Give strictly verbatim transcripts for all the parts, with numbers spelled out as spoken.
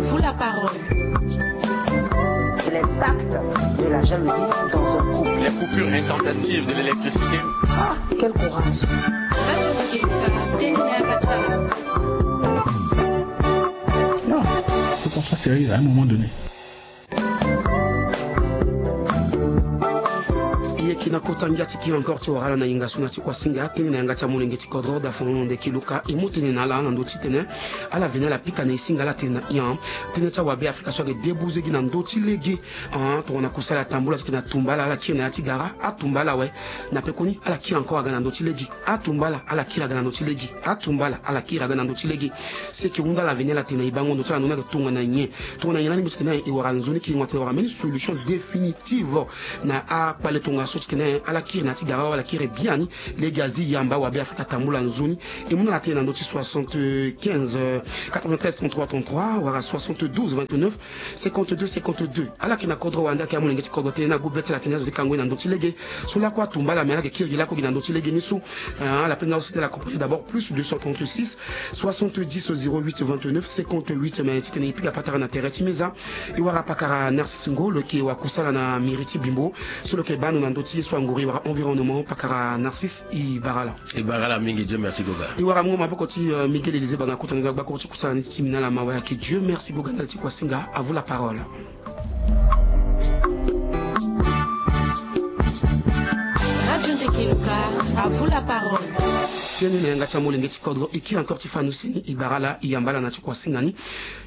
Vous la parole. L'impact de la jalousie dans un couple. Les coupures intempestives de l'électricité. Ah, quel courage. Non, faut qu'on soit sérieux à un moment donné. E yeke na kota ngia ti kiri encore ti wara ala na hinga so na ti kuasinga. Tënë na yanga ti amolenge ti kodro da fonono ndeki Luka e mu tënë na ala na ndö ti tene ala veni ala pika na e singa ala tene na e. Tënë ti awabe Afrika so ayeke debuze gi na ndö ti lege. Tongana kusala atambula titene atumba ala ala kiri na ya ti gara, atumba ala awe. Na pekoni ala kiri encore aga na ndö ti lege. Atumba ala ala kiri aga na ndö ti lege. Atumba ala ala kiri aga na ndö ti lege. Si e yeke hunda ala veni ala tene na e bango ndo ti ala ndo ni ayeke tongana nyen? Tongana nyen lani mbi titene e wara nzoni kiringo atene wara mbeni solution définitive na akpale tongaso titene ala kiri na ya ti gara wala ala kiri biani. Lege azi yamba awabe Afrika atambula nzoni. E mu na ala tene na ndö ti soixante-quinze, quatre-vingt-treize, trente-trois, trente-trois wala soixante-douze, vingt-neuf, cinquante-deux, cinquante-deux. Ala yeke na kodro wande ayeke amolenge ti kodro tënë ni agu be ti ala tene azo ti kango ye na ndö ti lege. So lakue atumba ala me ala yeke kiri gi lakue gi na ndö ti lege ni so. Ala pe nga aussi ti ala composé d'abord plus deux cent trente-six, soixante-dix, zéro huit, vingt-neuf, cinquante-huit. Mais titene e pika patara na tere ti meza. E wara pakara Narcisse Ngo lo yeke wakusala na mairie ti Bimbo. So lo yeke baa ndo na ndö ti ye so angori e wara environnement. Pakara Narcisse, e bara ala. E bara ala mingi, Dieu merci goga. E wara mungo maboko ti Miguel Élisée Banga kota na ndo agbakuru ti kusala ni ti timinala mawa ayeke Dieu merci goga ndali ti kuasinga. À vous la parole. Radio Ndeke Luka, à vous la parole. Tënë na yanga ti amolenge ti kodro e kiri encore ti fani use ni, e bara ala, e yamba ala na ti kuasinga ni.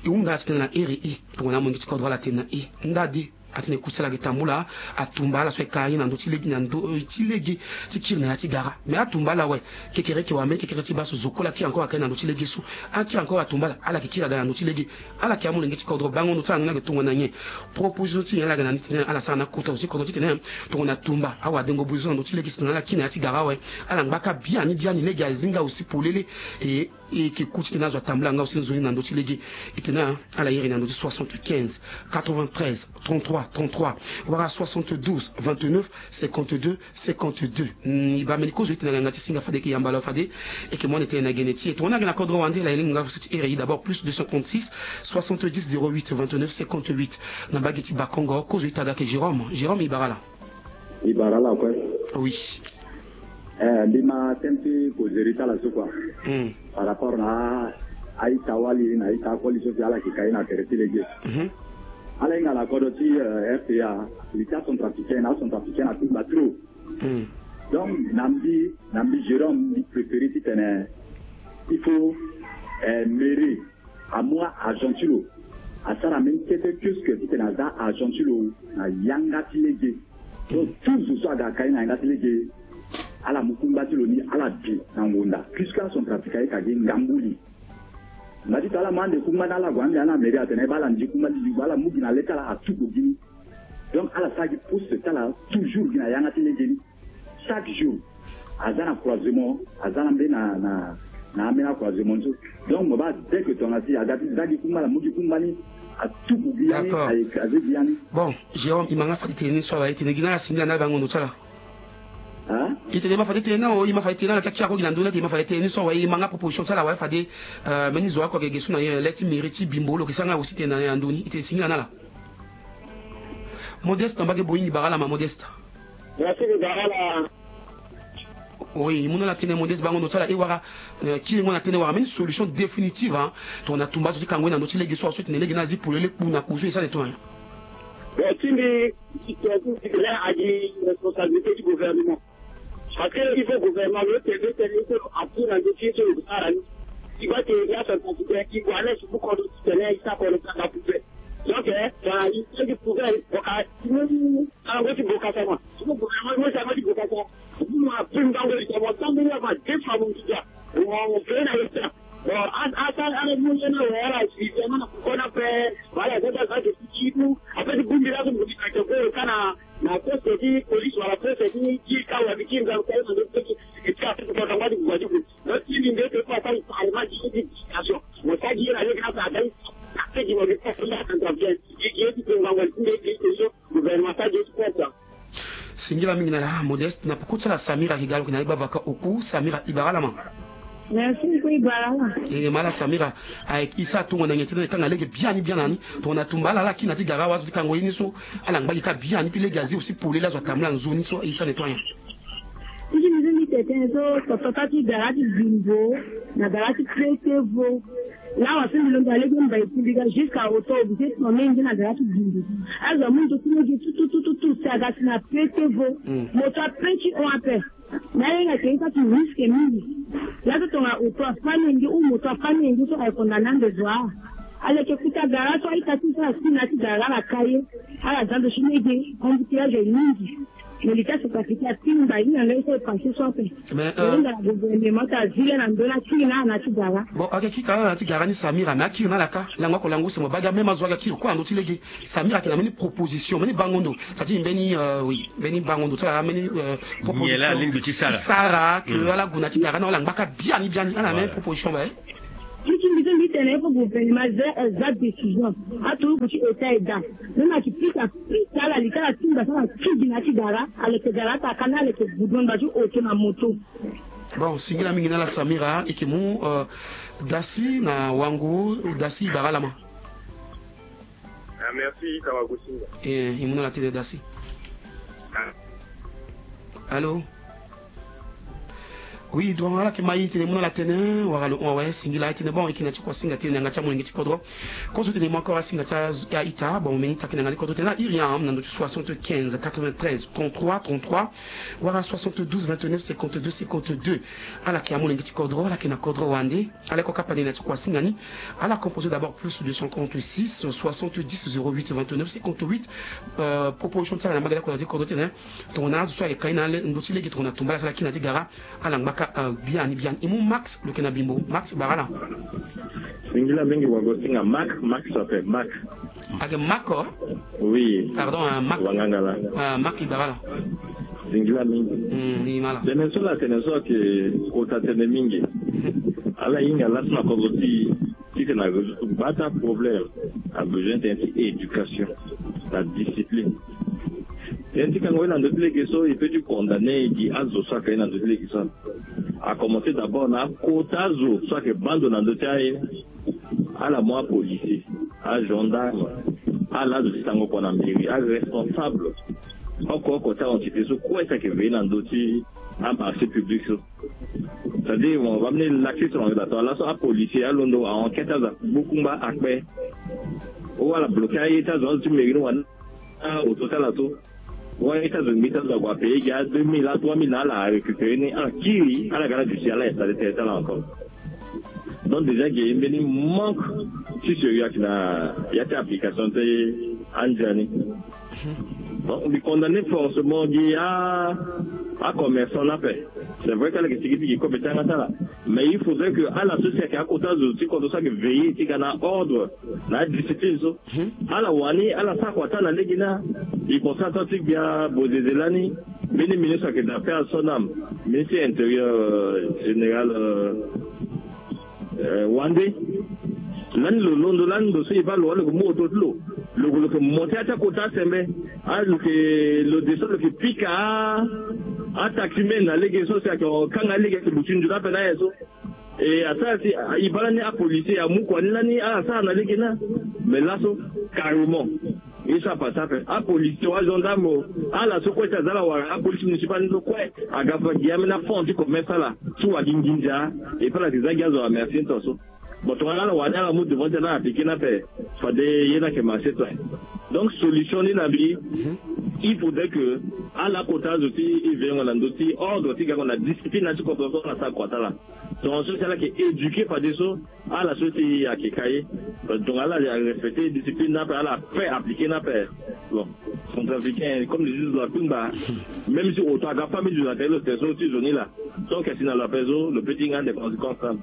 E hunda ala titene na iri e tongana amolenge ti kodro ala tene na e ndade. Atene kusala ayeke tambula, atumba ala so ayeke ka ye na ndö ti lege, na ndö ti lege ti kiri na ya ti gara. Mais atumba ala awe. Kekereke wambe kekereke ti baa so zo kue la kiri encore ayeke na ndö ti lege so. Akiri encore atumba ala, ala yeke kiri aga na ndö ti lege. Ala yeke amolenge ti kodro bango ndo ti ala ndo ni ayeke tongana nyen? Proposition ti nyen ala yeke na ni titene ala sara na kota zo ti kodro titene tongana tumba awadengo buzo so na ndö ti lege si na ala kiri na ya ti gara awe. Ala ngba kâ biani biani lege azi nga aussi polele. E E yeke ku titene azo atambula nga aussi nzoni na ndö ti lege. E tene ala iri na ndö ti soixante-quinze, quatre-vingt-treize, trente-trois, trente-trois wala soixante-douze, vingt-neuf, cinquante-deux, cinquante-deux. E baa mbeni kozo e tene na yanga ti singa fade e yeke yamba lo fade. E yeke mu ande tene na gene ti e tongana ayeke na kodro wande la e lingo nga aussi ti iri e d'abord plus deux cent trente-six, soixante-dix, zéro huit, vingt-neuf, cinquante-huit. Na mbage ti Bakongo kozo e taga ayeke Jérôme. Jérôme, e bara ala. E bara ala kue. Oui. Eh, mbi ma tënë ti kozeri ti ala so kua. Par rapport na a-ita wali na a-ita akoli so si ala yeke ka ye na tere ti lege. Ala hinga na kodro ti, eh, R T A, li ti acentrafricain na acentrafricain atumba trop. Donc na mbi, na mbi Jérôme, mbi préféré titene il faut, eh, mairie amu a-agent ti lo asara mbeni kete kiosque titene aza agent ti lo na yanga ti lege. Donc tout zo so aga ka ye na yanga ti lege, ala mu kungba ti lo ni ala bi na ngonda puisque acentrafricain ayeke gi ngambu li. Ngba ti to ala mu ande kungba ni ala gue ande ala mairie atene baa ala ndi kungba ti li, ala mu gi na le ti ala atuku gi ni. Donc ala sara gi poste ti ala toujours gi na yanga ti lege ni. Chaque jour aza na croisement, aza na mbeni na, na, na ambeni acroisement so. Donc mo baa dès que tongana si aga ti za gi kungba ala mu gi kungba ni, atuku gi ya ni, a écrasé gi ya ni. Bon, Jérôme, e ma nga fade tene ni so ala e tene gi na ala singila na ala bango ndo ti ala. Hein? E tene e ma fade tene na o, e ma fade tene na ala ti akiri ako gi na ndö ni ate, e ma fade tene ni so awe, e ma nga proposition ti ala awe fade, euh, mbeni zo oko ayeke ge so na ye le ti mairie ti Bimbo lo yeke sara nga aussi tene na ya ndö ni, e tene singila na ala. Modeste na mbage Boeing, e bara ala ma Modeste. Merci, e bara ala. Oui, e mu na ala tënë Modeste bango ndo ti ala e wara, euh, kiringo na tënë wara mbeni solution définitive, hein. Tongana tumba azo ti kango ye na ndö ti lege so awe so e tene lege ni azi polele kpu na kpu so e sara tongana nyen? Bon, ti mbi, ti tene agi responsabilité ti gouvernement. Parce que il faut gouvernement lo tene tene il faut lo appuyer na ndö ti ye so lo sara ni. Ti baa ti ye acentrafricain ti gue ane ti bu kodro ti tene e sara kodro ti aga prouver. Donc, eh, tongana e sara gi prouver, bon, ka ti mu alango ti bokasa mo. Ti mu gouvernement mo ti alango ti bokasa. Mo appuyer ngango ti mo tambula mo défend mo ngiza. Mo mo fere na ye ti. Bon, a, a, a, a, mo ye na wala si ti mo na kona pe wala za za za ti ti tu. Après ti bongbi laso mo ti ka ti ko kana na poste ti police wala poste ti ti ka wala ti ngangu ka na ti ti ka ti ko na ngba ti gba ti ko. Donc ti ni nde ti ko ata parlement ti éducation. Mo sa gi na le grâce à dai. Après ti mo ti ko na contrat bien. Ti ti ti ko ngangu ti nde ti ko gouvernement sa gi ti ko. Singila mingi na ala Modeste, na peko ti ala Samira Kigal, na e bavaka oku. Samira, e bara ala ma. Merci. E, ma ala Samira, aye e sara tongana nyen ti tene e kanga lege biani biani ni. Tongana tumba ala, ala kiri na ti gara awe azo ti kango ye ni so, ala ngba gi kâ biani, puis lege azi aussi polele azo atambula nzoni so, e sara nettoyer. Ti ti mbi so mbi tene tënë so, toto ti gara ti Bimbo na gara ti Pretevo. Lawa so mbi londo na lege mbai ti mbi ga jusqu'à auto obligé ti mama e nze na gara ti Bimbo. Azo amu ndo ti lege tututututu si aga si na Pretevo. Moto ape ti hon ape. Na ye nga ke ita ti risque mingi. Laso tonga auto afani nge ou moto afani nge so aye condamné ande zo a. Aleke kuta gara so aita ti so asi na ti gara ala ka ye. Ala za ndo ti lege embouteillage mingi. Mais l'État centrafricain atingba hinga nga ye so e passé so ape. Mais, euh, gouvernement ti azile na ndo na kiri na ala na ti gara. Bon, ake kiri ka na ala na ti gara ni Samira, mais akiri na ala ka. Lango oko lango se mo baa ga même azo aga kiri kue na ndo ti lege. Samira ayeke na mbeni proposition, mbeni bango ndo. C'est-à-dire mbeni, euh, oui, mbeni bango ndo ti ala, mbeni, euh, proposition. Nyen la alingbi ti sara? Ti sara ke ala gue na ti gara ni, ala ngba kâ biani biani, ala na mbeni proposition ba e. Ti ti mbi so mbi tene il faut gouvernement aza, aza décision. Aturuku ti état e daa. Même ayeke pika pika ala li ti ala tingba so ala ti gi na ti gara, aleke gara ata ka ni aleke goudron ngba ti auto na moto. Bon, singila mingi na ala Samira, e yeke mu, euh, Dasi na Wango. Dasi, e bara ala ma. Ah, merci, Kawagusinga. Eh, e mu na ala tënë Dasi. Ah. Allô? Oui, donc ala yeke ma e tene e mu na ala tënë, wala lo hon awe, singila e tene, bon, e yeke na ti kua singa tënë na yanga ti amolenge ti kodro. Kozo tene e mu encore asinga ti a, a ita, bon, mbeni ita ayeke na yanga ti kodro tene a iri am na ndo ti soixante-quinze quatre-vingt-treize trente-trois trente-trois, wala soixante-douze vingt-neuf cinquante-deux cinquante-deux. Ala yeke amolenge ti kodro, ala yeke na kodro wande. Ala ye kue kapa ni na ti kua singa ni. Ala composé d'abord plus deux cent quarante-six soixante-dix zéro huit vingt-neuf cinquante-huit. Euh, proposition ti ala na mbage lakue na ti kodro ti tene, tongana azo so ayeke ka ye na le, ndö ti lege tongana tumba ala so ala kiri na ti gara, ala ngba kâ, euh, biani biani. E mu Max, lo yeke na Bimbo. Max, e bara ala. Singila mingi, wagosinga. Max, Max, ça fait Max. Ayeke Max ko? Oui. Pardon, hein, Max. Wangangala. Ah, Max, e bara ala. Singila mingi. Hmm, ni mala. Tënë so la, tënë so ayeke kota tënë mingi. Ala hinga laso na kodro ti, ti tene arésoudre bata problème. Abesoin tënë ti éducation, la discipline. Tënë ti kango ye na ndö ti lege so, e peut ti condamné gi azo so ayeke ye na ndö ti lege so. A commencé d'abord na akota azo so ayeke baa ndo na ndö ti aye. Ala mu apolicier, agendarme, ala azo ti sango kua na mairie, aresponsable oko oko ti aentité so kue ti ayeke veiller na ndö ti amarché public so. C'est-à-dire, bon, bambeni laxiste na yeda to, laso apolicier alondo a enquête, aza gbukungba akpe. Ou ala bloqué aye ti azo, azo ti mairie ni wani auto ti ala so. Wani ti azo ngbii ti azo ague apayer gi a deux mille, a trois mille na ala, arécupéré ni, ala kiri, ala ga ala duti ala installé tere ti ala encore. Donc déjà ge mbeni manque ti sérieux ayeke na ya ti application ti anzia ni. Donc mbi condamné forcément gi a, acommerçant ni ape. C'est vrai que ala yeke sigi ti gi kobe ti yanga ti ala. Mais il faudrait que ala so si ayeke akota zo ti kodro so ayeke veiller ti ga na ordre na adiscipline so. Ala wani ala sara kua ti ala na lege ni. E concerne ato ti gbia bozeze lani, mbeni ministre ayeke d'affaires so na ministre intérieur, euh, général, euh, euh, wande. Lani lo londo lani ndo so e baa lo wani lo yeke mu auto ti lo, lo yeke, lo yeke mo ti ya ti akota sembe. Ah, lo yeke, lo de so lo yeke pika a, ataximen na lege so si ayeke kanga lege ayeke luti nzoni ape na aye so. E asara si e baa lani apolicier amu kua ni lani ala sara na lege ni. Mais laso carrément ye so apase ape, apolicier o, agendarme o, ala so kue ti aza ala wara apolice municipale ni so kue aga fa gi ambeni afond ti commerce ti ala ti wara gi nginza. Et puis ala yeke za gi azo amercier ni tongaso. Bon, tongana ala wara ni ala mu devant ti ala, ala appliqué ni ape, fade ye ni ayeke marché to. Donc solution ni na mbi, il faudrait que ala kota azo ti e veillengo na ndö ti ordre ti gango na discipline na ti kodro so ala sara kua ti ala. Tongaso si ala yeke éduqué fadeso, ala so si ayeke ka ye, donc ala respecté discipline ni ape, ala fait appliqué ni ape. Bon, centrafricain comme les juges doivent kpingba. Même si auto aga famille du latel lo tene so ti zo ni la, so ayeke si na lo ape so lo peut ti hinga ande conséquence ni.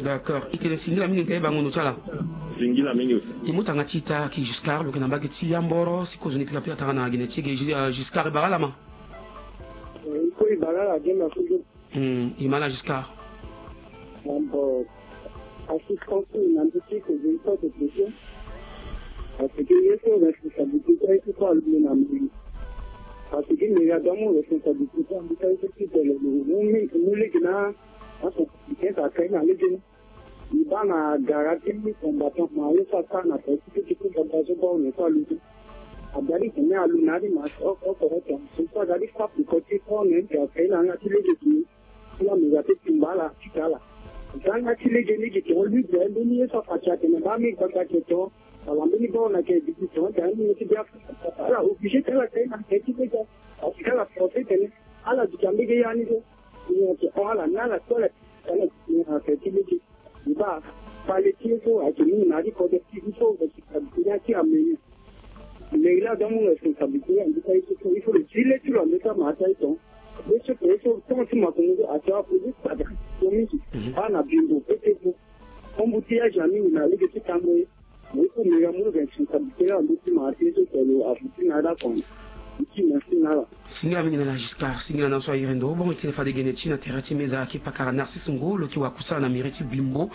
D'accord. E tene singila mingi, e bango ndo ti ala. Singila mingi. E mu tanga ti ita ki Giscard, lo yeke na mbage ti Yamboro, si kozoni pikapika tara na gene ti e ge. Giscard, e bara ala ma. E ko e bara ala ge na so. Hmm, e ma ala Giscard. Bon, assistance na ndö ti kozoni so de question. Parce que ye so responsabilité so aye ti so alondo na mairie. Parce que mairie adoit amu responsabilité so alondo ti tene lo mu lege na Aso ken sa kai na legeni. I baa na gara ti combattant ma ye so asara na tere ti keke ti gbagba so baa one so aluti. Abia ti tene alu na adi ma oko oko so so aga ti fa peko ti fo ne ti akai na yanga ti lege ti. Ti la mega ti tumba ala ti ka ala. Yanga ti lege ni gi tongo libre mbeni ye so afa ti atene baa mi gbagba ti tongo. Wala mbeni baa ona ke gi ti tongo ti ani ti bia. Ala obligé ti ala kai na kai ti lege. Parce que ala forcé tene ala duti ambege ya ni so. Ala na ala ti ala ti ala ti ala ti lege. Iba pale ti ye so ayeke mingi na ya ti kodro ti ye so responsabilité ni ati ameni. Meri la aza mu responsabilité andi ka ye so so il faut le dire ti lo ande ka ma ata ye ton. Ye so ke ye so ton ti makongo so ati apoze kpata so mingi. Baa na bimbo pe te fo. Kombu ti azi amingi na lege ti tango ye. Mo ye so meri amu lo responsabilité la ando ti ma ati ye so ke lo afu ti na ya da kon. Ti merci na ala. Singila mingi na na Giscard, singila na so ayere ndo. Bon, e tene fade gene ti na tere ti meza ayeke pakara Narcisse Ngo, lo yeke wakusala na mairie ti Bimbo,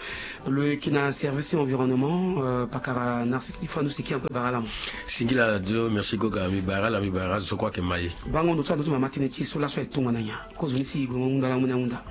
lo yeke na service ti environnement. Euh, pakara Narcisse, ti fa ndu seki encore bara ala mo. Singila dio, merci goga, mbi bara ala, mbi bara ala zo kue ayeke ma ye. Bango ndo so ando ti mama tënë ti e so laso aye tongana nyen? Kozo ni si e gue mo hunda lango ni ahunda.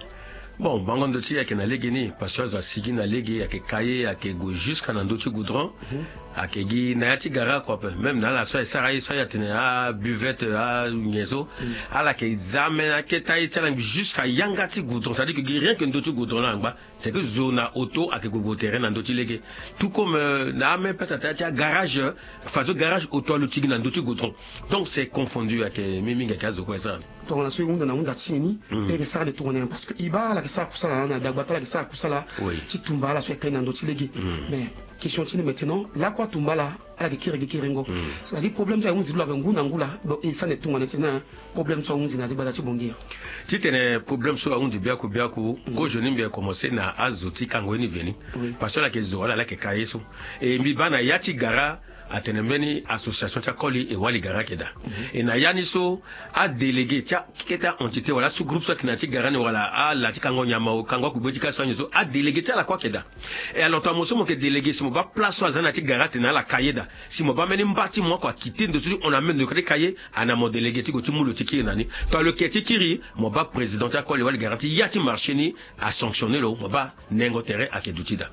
Bon, bango ndo ti e ayeke na lege ni, parce que azo asigi na lege, ayeke ka ye, ayeke gue jusqu'à na ndö ti goudron. Mhm. Ayeke gi na ya ti gara kua ape, même na ala so aye sara ye so aye atene abuvette anyen so. Mm. Ala yeke za ambeni aketa ye ti ala jusqu'à yanga ti goudron, c'est à dire que gi rien que ndö ti goudron la angba. C'est que zo na auto ayeke gue gue tere na ndö ti lege. Tout comme, euh, na ameme pete ata ti agarage, euh, façon garage auto alo ti gi na ndö ti goudron. Donc c'est confondu, ayeke mingi mingi ayeke azo kue asara. Tongana so e hunda na hunda ti e ni. Mm. E yeke sara nde tongana nyen? Parce que e baa ala yeke sara kusala na dagba ti ala yeke sara kusala. Oui. Ti tumba ala so e kai na ndö ti lege. Mm. Mais question ti ni maintenant, lakue atumba ala, ala yeke kiri gi kiringo. Mm. C'est-à-dire problème so ahunzi lo ape ngu na ngu la, donc e sara nde tongana ti na problème so ahunzi na ya ti gbata ti Bangui. Titene problème so ahunzi biaku biaku, mm, kozo ni mbi yeke commencé na azo ti kango ye ni veni. Oui. Parce que ala yeke zo wala ala yeke ka ye so. E mbi baa na ya ti gara, atene mbeni association ti akoli e wali gara ayeke daa. Mhm. E na ya ni so, adélégué ti akete a-entité wala asous-groupe so ayeke na ya ti gara ni wala ala ti kango nyama o, kango akugbe ti ka so anyen so, adélégué ti ala kue ayeke daa. E alors tongana mo so mo yeke délégué, si mo baa place so aza na ya ti gara atene ala ka ye daa. Si mo baa mbeni mba ti mo oko akite ndo so ti hon na mene ndo ti ka ye, ana mo délégué ti gue ti mu lo ti kiri na ni. Tongana lo yeke ti kiri, mo baa président ti akoli wali gara ti ya ti marché ni, asanctionné lo, mo baa nengo tere ayeke duti daa.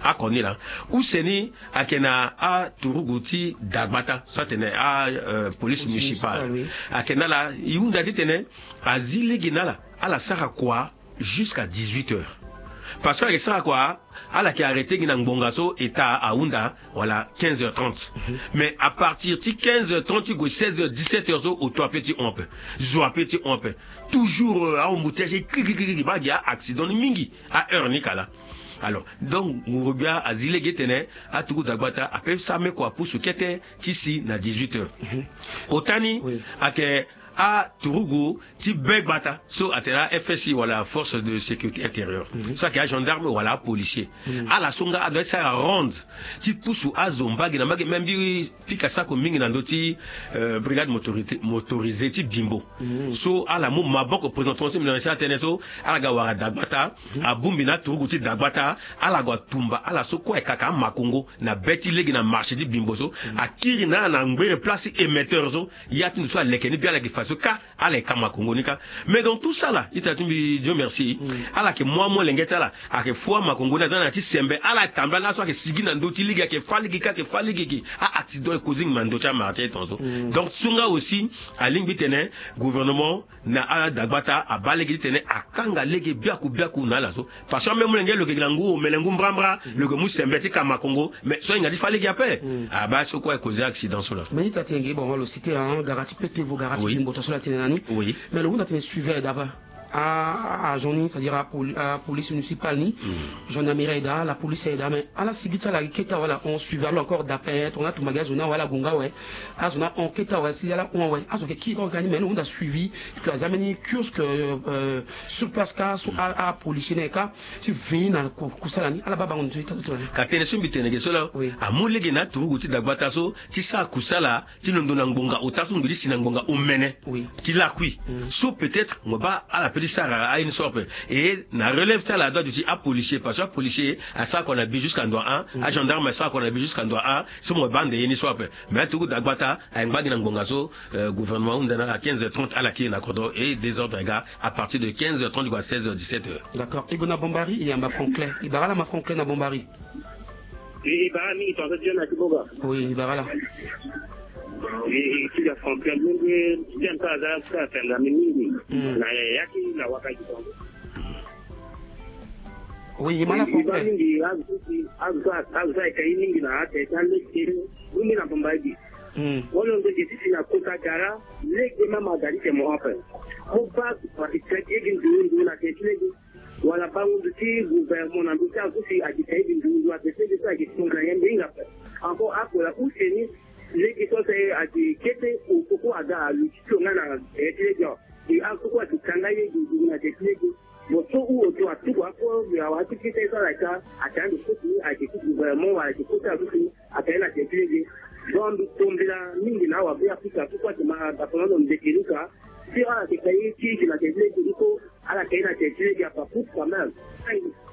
Oko ni laa. Use ni ayeke na aturugu ti dagbata so atene a, euh, police municipale. Police municipale, oui. Ayeke na ala, e hunda titene azi lege na ala, ala sara kua jusqu'à dix-huit heures. Parce que ala yeke sara kua, ala yeke arrêté gi na ngbonga so état ahunda, wala quinze heures trente. Mhm. Mais à partir ti quinze heures trente ti gue seize heures, dix-sept heures so, auto ape ti hon ape. Zo ape ti hon ape. Toujours, euh, a-embouteillage, kiki, kiki, kiki, baa gi a-accident ni mingi a heure ni ka laa. Alors, donc, nguru-gbia azi lege tene aturugu dagbata ape sara meko apusu kete ti si na dix-huit heures. Mhm. Ota ni, oui, ayeke aturugu ti be gbata so atene a-F S I wala force de sécurité intérieure. Mhm. So ayeke agendarme wala apolicier. Mhm. Ala so nga adoit ti sara ronde ti pusu azo mbage na mbage, même mbi pika sako mingi na ndö ti, euh, brigade motorité, motorisée ti Bimbo. Mhm. So ala mu maboko présentement so mbi na mbi sara tënë so, ala ga wara dagbata, mhm, abongbi na aturugu ti dagbata, ala gue atumba ala so kue ayeke kaka amakongo na be ti lege na marché ti Bimbo so, mhm, akiri na ala na ngbere place ti émetteur so, ya ti ndo so aleke ni bia ala yeke fa so ka, ala yeke ka makongo ni ka. Mais dans tout ça là, ita ti mbi, Dieu merci, mm, ala yeke mu amolenge ti ala, ayeke fo amakongo ni aza na ya ti sembe, ala tambula na ala so ayeke sigi na ndö ti lege, ayeke fâ lege ka, ayeke fâ lege ge, a-accident e causer ngbanga na ndö ti amara ti aye tongaso. Mm. Donc so nga aussi, alingbi titene gouvernement na adagbata abaa lege titene akanga lege biaku biaku na ala so. Parce que amolenge lo yeke gi na ngu omene ngu mbrambra, lo yeke mu sembe ti ka makongo, mais so ahinga ti fâ lege ape. Mm. Abaa so kue e causer accident so laa. Mais ita ti yenge, bon, lo cité, hein, gara ti Petevo, gara ti, oui, Bimbo, tongaso la tene na ni. Oui. Mais lo hunda tene suivi aye daa baa. A, a, agent ni, c'est-à-dire a poli-, a police municipale ni, mm, gendarmerie aye daa, la police aye daa, mais ala sigi ti ala keta wala on suivi alors encore d'après, tongana atumba gi azo ni awe, ala gue nga awe, azo ni ahon kete awe, si ala hon awe, azo yeke kiri kue ka ni, mais lo hunda suivi, que aza mbeni kiosque, euh, sur place ka so, mm, a, apolicier ni aye ka ti veiller na ku-, kusala ni, ala baa bango ndo so ita ti tongana ni. Ka tënë so mbi tene ge so laa, oui, amu lege na aturugu ti dagbata so ti sara kusala ti londo na ngbonga ota so ngbi ti si na ngbonga omene, oui, ti lakui. Mm. So peut-être mo baa ala Ti sara aye ni so ape. E na relève ti ala adoit ti apolicier, parce que apolicier asara kua na bi jusqu'à ndua a, agendarme asara kua na bi jusqu'à ndua a. Si mo bande ye ni so ape. Mais atuku dagbata ayengba gi na ngbonga so, euh, gouvernement ahunda na à quinze heures trente ala kiri na kodro, et désordre aga à partir de quinze heures trente jusqu'à seize heures, dix-sept heures. D'accord. E gue na Bombari, e yamba Franklin. E bara ala ma Franklin na Bombari. E, e bara mingi tonton John Akiboga. Oui, e bara ala. E, e ti ga Franklin, ndenge ti aza ka tanga mingi. Mm. Na ya ti na waka ti tongo. Oui, e ma ala Franklin. E bara mingi, azo, azo, azo eka ye mingi na ate, ta lege, mingi na Bombari. Mm. Wala ndenge ti si na kota gara, lege mama aga ti tene mo ape. Mo baa, mo ati tene ti lege nzoni nzoni na tene ti lege. Wala bangundu ti gouvernement na ndö ti azo si ayeke ka ye gi nzoni nzoni, ayeke senge so ayeke tongana nyen mbi hinga ape. Encore akola use ni lege so si ayeke kete, koko aga aluti so nga na tene ti lege. E azo kue ayeke kanga ye gi nzoni na tene ti lege. Bon, so ou oto atuku ako, awa ti kete so ala ka, atene ande koti ni ayeke ti gouvernement wala ayeke koti azo si atene na tene ti lege. Donc mbi tombela mingi na awa be Afrika so kue ayeke ma dapono ando ndeke luka. Si ala yeke ka ye ti eke na tene ti lege, il faut ala ka ye na tene ti lege, apa coûte quand même.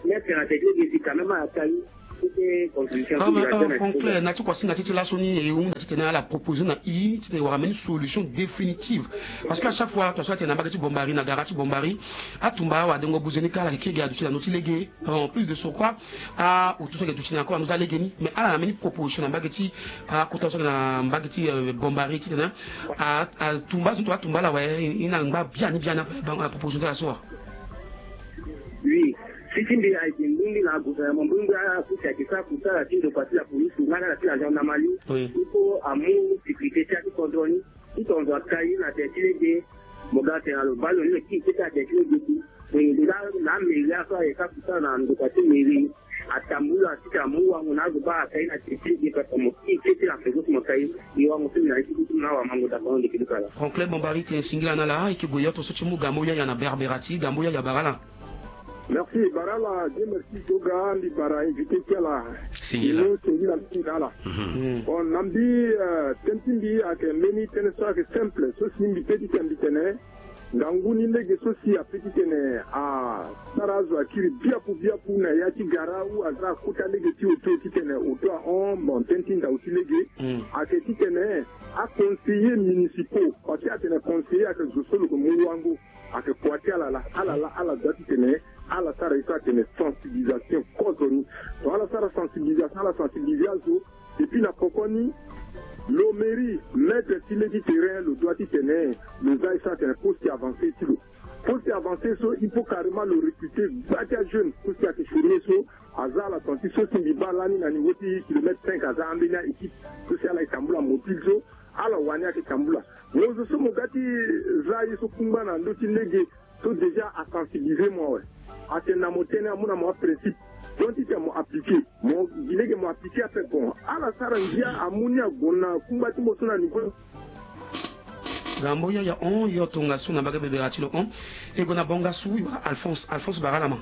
Mètre na tene ti lege, si quand même ala ka ye. C'était contribution. Ah, mais, euh, Franklin, na ti kua singa ti ti laso ni, e hunda titene ala proposer na i titene wara mbeni solution définitive. Parce que à chaque fois, tongaso atene na mbage ti Bombari, na gara ti Bombari, atumba awadengo buze ni kâ ala yeke kiri gi aduti na ndö ti lege. En plus de surcroît, ah, oto so ayeke duti na kue na ndö ti alege ni. Mais ala na mbeni proposition na mbage ti, ah, kota so ayeke na mbage ti, euh, Bombari titene, ah, atumba so, atumba ala awe, e na ngba biani biani ape, ah, proposition ti ala so wa. Oui. Si ti mbi ayeke mbongbi na gouvernement, mbongbi apusi ayeke sara kusala ti ndokua ti la police nga na ala ti la gendarmerie. Oui. Il faut amu sécurité ti ya ti kodro ni. Ti tongaso aka ye na tene ti lege, mo ga tene na lo baa lo ni lo kiri kete na tene ti lege ti. Nga na mairie aso ayeke sara kusala na ndokua ti mairie. Atambula ti tene amu wango na azo baa aka ye na tene ti lege pepe, mo kiri kete na peko ti mo ka ye. E wango so mbi na ye ti kutu na awamango dapono ndeke luka laa. Franklin Bombari, tene singila na ala, e yeke gue yo tongaso ti mu gambo yaya na Berbera ti gambo yaya bara ala. Merci, bara ala, Dieu merci, Joga, mbi bara invité ti ala. Singila. Ino singila mingi na ala. Mhm. Mm. Bon, na mbi, euh, tënë ti mbi ayeke mbeni tënë so ayeke simple, so si mbi peut ti tene mbi tene, ngangu ni lege so si apeut ti tene asara azo akiri biaku biaku na ya ti gara ou aza akota lege ti oto titene oto ahon, bon, tënë ti ndau ti lege. Mm. Ayeke titene aconseiller municipaux, parce que atene conseiller ayeke zo so lo yeke mu wango. Ayeke kua ti ala laa, ala laa, ala doit titene ala sara ye so atene sensibilisation kozoni. Donc ala sara sensibilisation, ala sensibiliser azo. Et puis na poko ni, lo mairie, maître ti lege ti terrain, lo doit titene lo za ye so atene poste avancé ti lo. Poste avancé so, il faut carrément lo recruter gba ti ajeune so si ayeke chômer so, aza ala senti so si mbi baa lani na niveau ti kilomètre cinq, aza ambeni a-équipe so si ala yeke tambula mobile so, ala wani ayeke tambula. Mo zo so mo ga ti za ye so kungba na ndö ti lege so déjà asensibiliser mo awe. Atene na mo tënë, amu na mo aprincipe. Donc titene mo appliquer. Mo gi lege mo appliquer ape, bon. Ala sara ngia amu ni ague na kungba ti mo so na niveau. Gambo yaya hon, yo tongaso na mbage bebera ti lo hon. E gue na bongasu, Alphonse, Alphonse bara ala ma.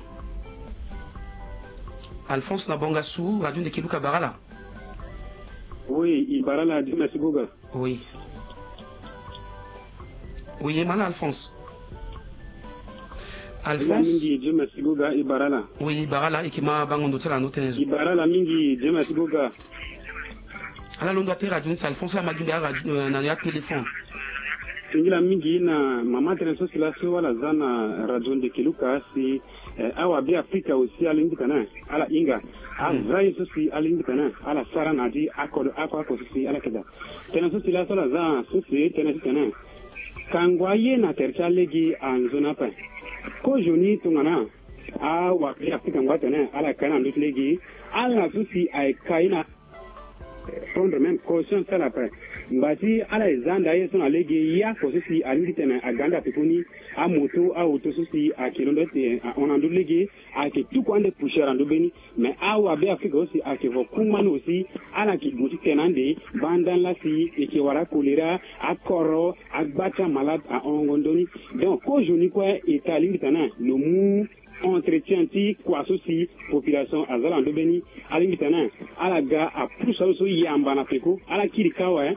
Alphonse na bongasu, radio ndeke luka bara ala. Oui, e bara ala, Dieu merci Goga. Oui. Oui, e ma ala Alphonse. Alphonse. Mingi, Dieu merci Goga, e bara ala. Oui, e bara ala, e yeke ma bango ndo ti ala na ndo tënë so. E bara ala mingi, Dieu merci Goga. Ala londo ate radio ni si Alphonse, ala ma gi mbi aradio, euh, na ya téléphone. Singila mingi na mama tënë so si laso ala za na radio ndeke luka si, eh, awa Beafrika aussi alingbi titene ala hinga. Aza ye so si alingbi titene ala sara na ya ti akodro oko oko so si ala yeke daa. Tënë so si laso ala za so si tënë titene kango aye na tere ti alege anzoni ape. Kozoni tongana awa Beafrika ango atene ala yeke na ndö ti lege, ala so si ayeke ka ye na prendre même conscience ti ala ape. Ngba ti ala e za ande aye so na lege, ye oko so si alingbi titene aga ande ape koni, amoto, aoto so si ayeke londo ti tene ahon na ndö ti lege, ayeke tuku ande poussière na ndö mbeni. Mais awa Beafrika aussi ayeke vo kungba ni aussi, ala yeke gue ti tene ande, banda ni laa si e yeke wara acholéra, akoro, agba ti amalade ahon ndoni. Donc kozoni kue État alingbi titene lo mu entretien ti kua so si population aza na ndö mbeni. Alingbi titene ala ga apusu azo so yamba na peko, ala kiri kâ awe.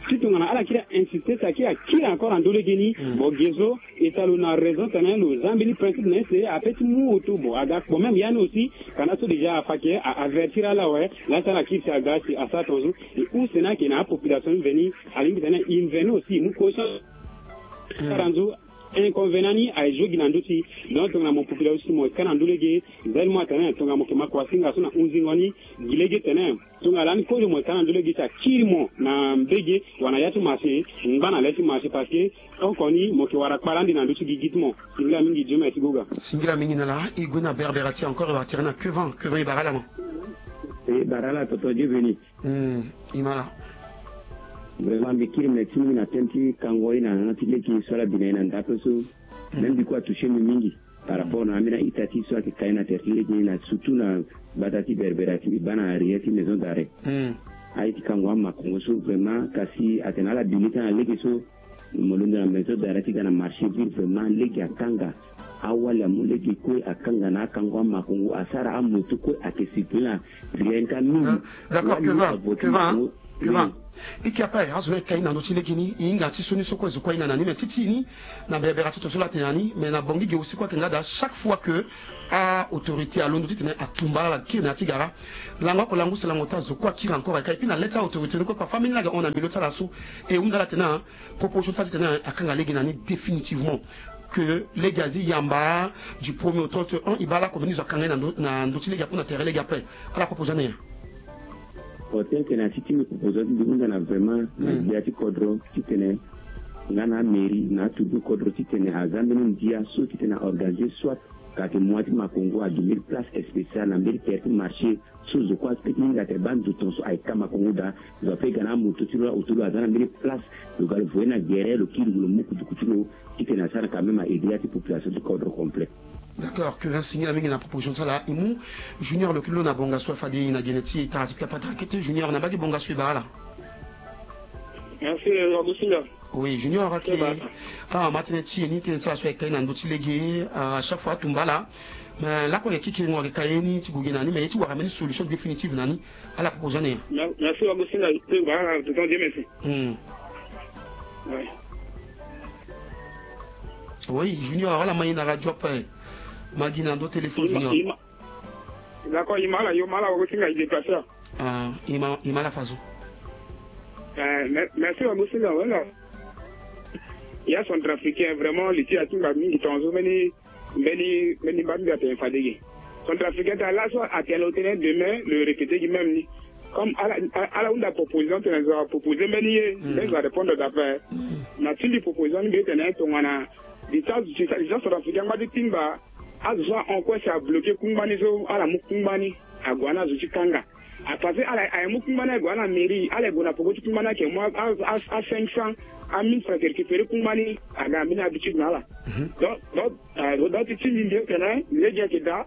Ti tongana ala kiri a-insister si akiri akiri encore na ndö lege ni. Bon, ge so e ta lo na raison tene lo za mbeni principe na ye si ape ti mu auto. Bon, aga kpo même ya ni aussi. Kana so déjà afa ke a-avertir ala awe. Laa si ala kiri si aga si asara tongaso. E use ni ayeke na apopulation ni mveni. Alingbi tene e mveni aussi e mu conscience. Aranzo inconvénient ni aye zo gi na ndö ti. Donc tongana mo population mo ka na ndö lege. Zel mo atene tongana mo yeke ma kuasinga so na hunzingo ni. Gi lege tene tongana lani kozo mo yeke ka na ndö lege si akiri mo na mbege. Wala na ya ti marché ngba na le ti marché parce que oko ni mo yeke wara kpara ande na ndö ti gigi ti mo. Singila mingi Dieu merci goga. Singila mingi na la e gue na berbera ti encore e wara tere na Kevin. Kevin e bara ala mo. E bara ala tonton Dieu béni. Hmm, e ma ala. Vraiment mbi kiri merci mingi na thème ti kango ye na yanga ti lege so ala bi na ye na ndako so. Même mbi kue atouché mbi mingi par rapport na ambeni a-ita ti so ayeke ka ye na tere ti lege ni na surtout na gbata ti berbera ti mbi baa na arrière ti maison d'arrêt. Aye ti kango amakongo so vraiment kasi atene ala bi ni ka na lege so. Mo londo na maison d'arrêt ti ga na marché ville vraiment lege akanga. Awali amu lege kue akanga na akango amakongo asara amoto kue ayeke circuler na rien ka mingi. D'accord. Kevin, Kevin, Kevin. E ke ape azo ni ayeke ka ye na ndö ti lege ni e hinga ti so ni so kue zo kue ahinga na ni mais ti ti ni na berebere ti to so laa atene na ni mais na bongi ge aussi kue ayeke nga daa chaque fois que a-autorité alondo titene atumba ala kiri na ya ti gara. Lango oko lango use lango ota zo kue akiri encore ayeke ka et puis na le ti a-autorité ni kue parfois ambeni laa ayeke hon na milieu ti ala so. E hunda ala atene proposition ti ala titene akanga lege na ni définitivement. Que lege azi yamba du premier au trente et un e baa lakue mbeni zo akanga ye na ndö ti lege ape na tere lege ape. Ala proposition ni nyen? Hotel tene asi ti mbi proposition ti mbi hunda na vraiment na gbia ti kodro titene nga na amairie na atudu kodro titene aza mbeni ndia so titene a-organiser soit kake mois ti makongo adu mbeni place spécial na mbeni tere ti marché. So zo kue aspect ti hinga tere baa ndo tongaso ayeke ka makongo daa. Zo ape ga na amoto ti lo la auto lo aza na mbeni place. Lo ga lo voye na gere lo kiri lo mu kutuku ti lo titene asara quand même a-aider ya ti population ti kodro complet. D'accord. Kevin singila mingi na proposition ti ala e mu. Junior lo kiri lo na bongaso fade e na gene ti e tara ti piapata kete junior na mbage bongaso e bara ala. Merci. Augustin. Oui junior ake. Awa ma tënë ti e ni tënë ti ala so ayeke ka ye na ndö ti lege. À chaque fois atumba ala. Mais lakue ayeke kikiringo ayeke ka ye ni ti gue ge na ni mais ye ti wara mbeni solution définitive na ni. Ala proposition ni. Merci Augustin. Tonton Dieu merci. Oui junior ala ma ye na radio ape. Ma gi na ndö téléphone junior. D'accord e ma ala yo ma ala woko ti nga e déplacer. Ah e ma e ma ala faso. Merci woko ti nga wala. Ya centrafricain vraiment li ti atinga mingi tongaso mbeni mbeni mbeni mba mbi atene fade gi. Centrafricain ti ala so atene lo tene demain lo rekete gi même ni. Comme ala ala hunda proposition tene zo apropose mbeni ye mbeni zo arépondre d'après. Na ti mbi proposition ni mbi tene tongana. Di ti azo centrafricain angba ti timba. Azo so ahon kue si abloke kungba ni so ala mu kungba ni ague na azo ti kanga. Apasse ala aye mu kungba ni ague na mairie ala gue na poko ti kungba ni ayeke mu a cinq cents a mille francs ayeke récupérer kungba ni aga na mbeni habitude na ala. Donc donc donc ti ti mbi mbi tene lege ayeke daa.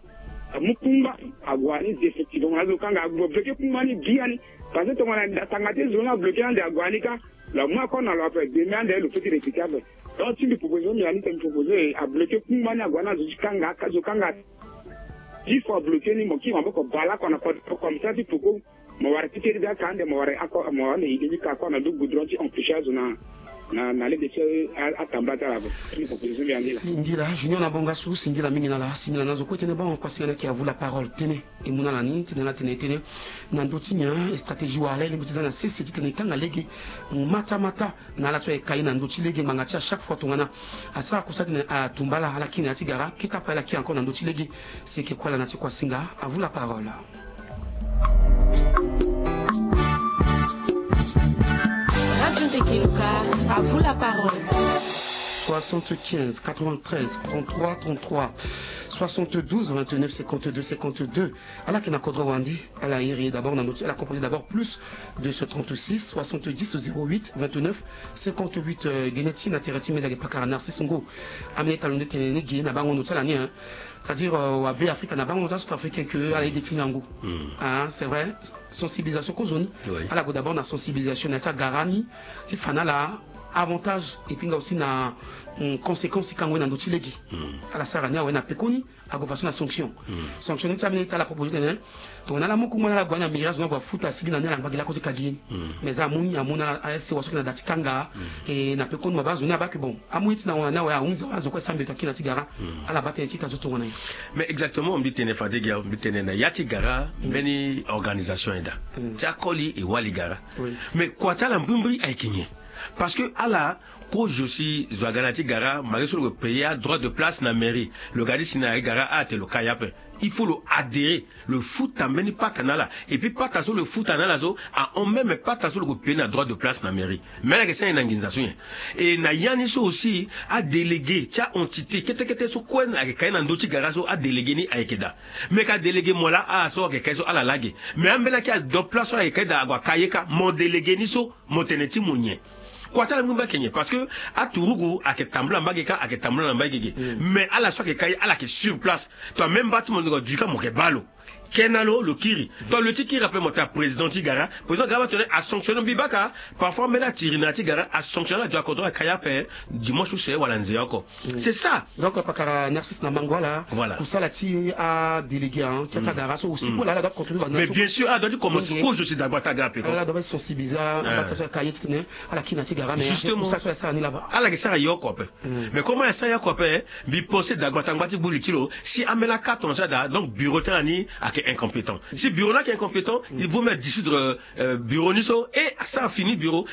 Amu kungba ague ni définitivement azo kanga ague bloke kungba ni biani. Parce que tongana atanga ti zo ni abloke ande ague ni ka. Lo amu akon na lo ape demi ande lo feti récupérer ape. Donc ti mbi proposé so mbi na ni tene mbi proposé abloke kungba ni ague na zo ti kanga zo kanga. Dix fois bloke ni mo kiri maboko bale ako na kode comme ça ti poko. Mo wara ti kiri be aka ande mo wara ako mo wara ande ide ti ka ako na du goudron ti empêcher azo na na na lege ti atambula ti ala. Ti mbi proposé so mbi na ni laa. Singila junior na bonga so singila mingi na ala singila na zo kue tënë bango kua singana ayeke avu la parole tënë. E mu na ala ni titene ala tene e tene na ndö ti nyen e stratégie wala e lingbi ti za na sese titene e kanga lege matamata. Na ala so ayeke ka ye na ndö ti lege ngbanga ti à chaque fois tongana asara kusala titene atumba ala ala kiri na ya ti gara kete ape ala kiri encore na ndö ti lege. Si e yeke kue ala na ti kuasinga. Avu la parole. Radio Ndeke Luka, avu la parole. Soixante-quinze quatre-vingt-treize trente-trois trente-trois, soixante-douze vingt-neuf cinquante-deux cinquante-deux. Ala yeke na kodro wande. Ala iri d'abord na ndö ti ala composé d'abord plus deux cent trente-six soixante-dix zéro huit vingt-neuf cinquante-huit. Gene ti na tere ti meza ge pakara Narcisse Ngo. Amene talo nde tene ni ge na bango ndo ti ala ni. C'est-à-dire wabe Afrika na bango ndo ti acentrafricain ke ala ye ge ti ngangu. Ah c'est vrai. Sensibilisation kozoni. Ala gue d'abord na sensibilisation na ya ti agara ni ti fa na ala. Avantage et puis nga aussi na mm, conséquence ti kango ye na ndö ti lege. Ala sara ni awe na pekoni ague façon na sanction. Sanction ni ti ambeni ti ala proposé tene tongana ala mu kungba na ala gue na mairie azo ni ague afuta asigi na ni ala ngba gi lako ti kagi ye ni. Mais amu ni amu na ala asc waso ayeke na da ti kanga. E na pekoni ma baa azo ni abaa ke bon amu ye ti na hon na ni awe ahunzi awe azo kue asambi eto akina ti gara. Ala baa tënë ti ita zo tongana nyen? Mais exactement, mbi tene fade gi awe mbi tene na ya ti gara mbeni organisation ayeke daa ti akoli e wali gara. Mais kua ti ala mbrimbri ayeke nyen? Parce que ala kozo si zo aga na ya ti gara malgré so lo ke payer adroit de place na mairie, lo ga ti si na ya ti gara ala tene lo ka ye ape. Il faut lo adhérer, lo futa mbeni pata na ala. Et puis pata so lo futa na ala so ahon même pata so lo ke payer na droit de place na mairie. Mais ala yeke sara nyen na nginza so nyen? E na ya ni so aussi adélégué ti a-entité kete kete so kue ayeke ka ye na ndö ti gara so adélégué ni ayeke daa. Mais ka délégué mo laa ala so ayeke ka ye so ala lage. Mais ambeni aki adroit place so ala yeke ka ye daa ague aka ye kâ mo délégué ni so mo tene ti mo nyen? Kua ti ala mbi mbi ayeke nyen? Parce que aturugu ayeke tambula mbage kâ ayeke tambula na mbage ge. Mais ala so ayeke ka ye ala yeke sur place. To amemba ti mo ndo ka du kâ mo yeke baa lo. Kena lo lo kiri. To lo ti kiri ape mo tene aprésident ti gara, président gara ba tene asanctionné mbi baka. Parfois mbeni atiri na ya ti gara asanctionné ala du akodro aka ye ape. Dimanche use wala nze oko. C'est ça. Donc pakara Narcisse na mango ala. Voilà. Kusala ti adélégué ti ata gara so aussi pour ala doit contrôler. Mais bien sûr ala doit ti commencer kozo si dagba ti aga ape ko. Ala doit sensibiliser aba ti ata kaye ti tene ala kiri na ti gara mais justement kusala so ala sara ni laba ala yeke sara ye oko ape. Mais comment ala sara ye oko ape? Mbi pense dagba ti angba ti gbu li ti lo si ambeni aka tonga so ada donc bureau ti ala ni ayeke incompétent. Si bureau ni ayeke incompétent il vaut mieux dissoudre bureau ni so et asara fini bureau.